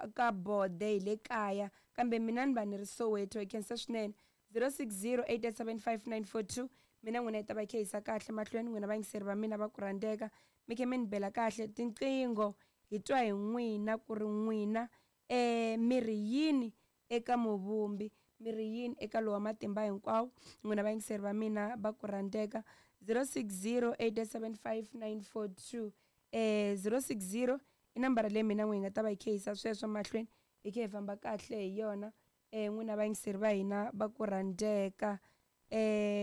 ka Bode hi le kaya kambe mina ni va ni ri Soweto. Hi khensa swinene. 0608875942 mina n'wina yi ta va yi kha yisa kahle mahlweni n'wina vayingiseri va mina va ku rhandzeka mi khe mi ni bela kahle tinqingho hi twa hi n'wina ku ri n'wina mi ri yini eka muvumbi mi ri yini eka lowa matimba hinkwawo n'wina vayingiseri va mina va ku rhandzeka. 0608875942 060 i nambara leyi mina n'wi hi nga ta va hi khe yisa sweswo mahlweni hi khe hi famba kahle hi yona n'wina vayingiseri va hina va ku rhandzeka.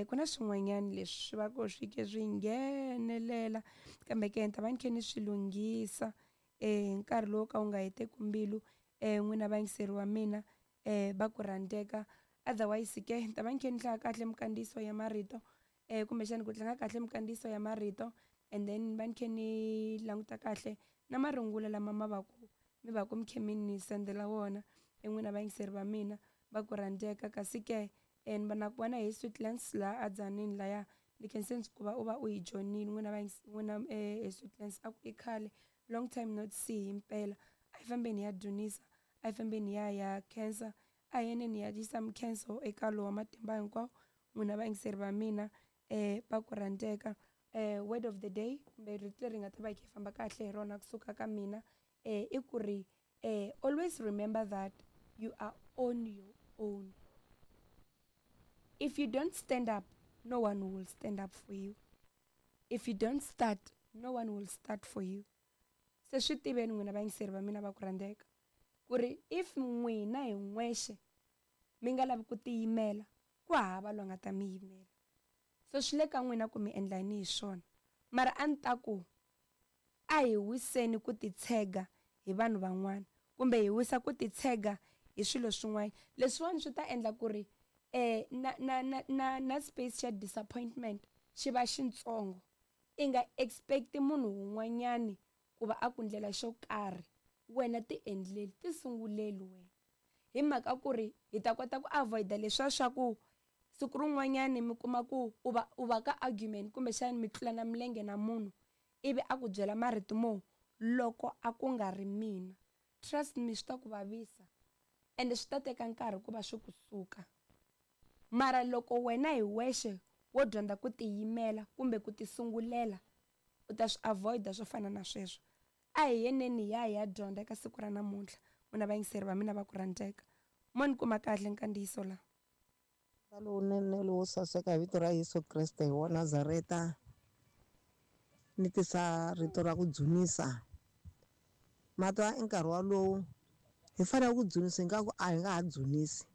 Ku na swin'wanyana leswi va ku swi ke swi nghenelela kambe ke ni ta va ni khe ni swi lunghisa hi nkarhi lowu ka wu nga heteki mbilu n'wina vayingiseri wa mina va ku rhandzeka. Otherwise ke ni ta va ni khe ni hlaya kahle minkandziyiso ya marito kumbexani ku tlanga kahle minkandziyiso ya marito and then va ni khe ni languta kahle na marungula lama ma va ku mi va ku mi khe mi ni sendela wona n'wina vayingiseri va mina va ku rhandzeka. Kasi ke ni va na ku vona hi Sweetlands laha a Dzanini laya ni khense ndzi ku va u va u hi joinile n'wina n'wina hi Sweetlands a ku i khale long time not see himpela. A hi fambeni hi ya dzunisa, a hi fambeni hi ya ya khensa, a hi yeneni hi ya yisa mikhenso eka lowa matimba hinkwawo n'wina vayingiseri va mina va ku rhandzeka. Word of the day kumbe rito leri nga ta va hi kha hi famba kahle hi rona kusuka ka mina i ku ri always remember that you are on your own. If you don't stand up, no one will stand up for you. If you don't start, no one will start for you. Se swi tiveni n'wina vayingiseri va mina va ku rhandzeka ku ri if n'wina hi n'wexe mi nga lavi ku tiyimela ku hava loyi a nga ta mi yimela. So swi le ka n'wina ku mi endla yini hi swona. Mara a ni ta ku a hi wiseni ku titshega hi vanhu van'wana kumbe hi wisa ku titshega hi swilo swin'wana. Leswiwani swi ta endla ku ri na na na na na space xa disappointment xi va xintsongo. I nga expect munhu wun'wanyani ku va a ku ndlela xo karhi wena ti endleli ti sunguleli wena hi mhaka ku ri hi ta kota ku avoid-a leswiya swa ku siku rin'wanyani mi kuma ku u va u va ka argument kumbexani mi tlulana milenge na munhu ivi a ku byela marito mo loko a ku nga ri mina. Trust me swi ta ku vavisa ende swi ta teka nkarhi ku va swi kusuka. Mara loko wena hi wexe wo dyondza ku tiyimela kumbe ku tisungulela u ta swi avoid-a swo fana na sweswo. A hi yeneni hi ya hi ya dyondza eka siku ra namuntlha n'wina vayingiseri va mina va ku rhandzeka. Mo ni kuma kahle nkandziyiso laha. Lowunene lowo saseka hi vito ra Yesu Kreste wa Nazareta ni tisa rito ra ku dzunisa. Matwa i nkarhi walowu hi fanele ku dzunisa ingaku a hi nga ha dzunisi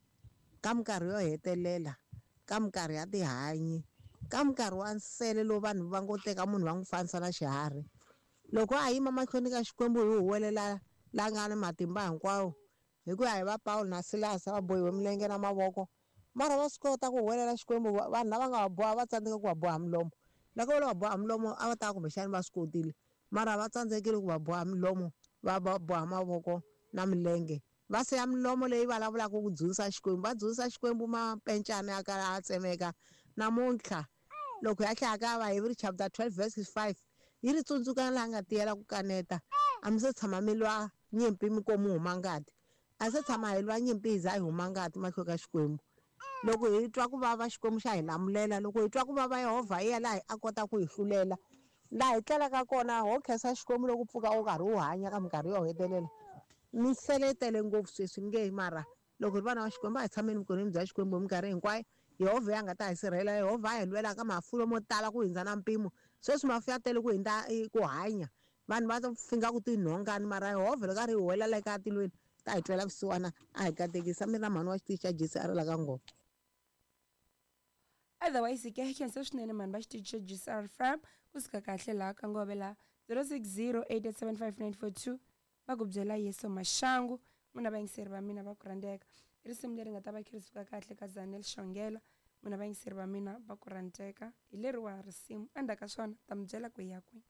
ka minkarhi yo hetelela, ka minkarhi ya tihanyi, ka minkarhi wa nsele lowu vanhu va ngo teka munhu va n'wi fanisa na xiharhi. Loko a yima mahlweni ka Xikwembu hi huwelela la nga ni matimba hinkwawo hi ku ya hi va Pawulo na Silasi va bohiwe milenge na mavoko mara va swi kota ku huwelela Xikwembu. Vanhu lava nga va boha va tsandzeka ku va boha milomo. Loko va va boha milomo a va ta kumbexani va swi kotile mara va tsandzekile ku va boha milomo, va va boha mavoko na milenge. Va siya milomo leyi vulavulaka ku dzunisa Xikwembu, va dzunisa Xikwembu mapencana ya kala a tsemeka. Namuntlha loko ya hlaya ka Vaheveri chapter 12 verse 5 yi ri tsundzukana laha nga tiyela ku kaneta a mi se tshama mi lwa nyimpi mi ko mi huma ngati, a se tshama hi lwa nyimpi hi za hi huma ngati mahlweni ka Xikwembu. Loko hi twa ku vava Xikwembu xa hi lamulela, loko hi twa ku vava Yehovha hi yena laha a kota ku hi hlulela. Laha hi tlelaka kona ho khensa Xikwembu loko pfuka u karhi u hanya ka minkarhi yo hetelela. Misele yi tele ngopfu sweswi ni nge mara loko hi ri vana va Xikwembu a hi tshameni vukoneni bya Xikwembu hi minkarhi hinkwayo. Yehovha ya nga ta hi sirhelela, Yehovha a hi lwela ka mafu mo tala ku hundza na mpimo. Sweswi mafu ya tele ku hundza ku hanya, vanhu va finga ku tinhongani mara Yehovha loko a ri hi huwelela eka tilweni ta hi twela vusiwana a hi katekisa. Mina mhani wa xitichi xa Jesi a ri la ka ngoma. Otherwise ke khensa swinene mhani va xitichi xa GCR Farm kusuka kahle laha ka ngove laha 0608875942 va ku byela Yesu Maxangu. N'wina vayingiseri va mina va ku rhandzeka. I risimu leri nga ta va kha ri suka kahle ka Zanel Xongela. N'wina vayingiseri va mina va ku rhandzeka. Hi leriwa risimu endzhaku ka swona ta mi byela ku hi ya kwihi.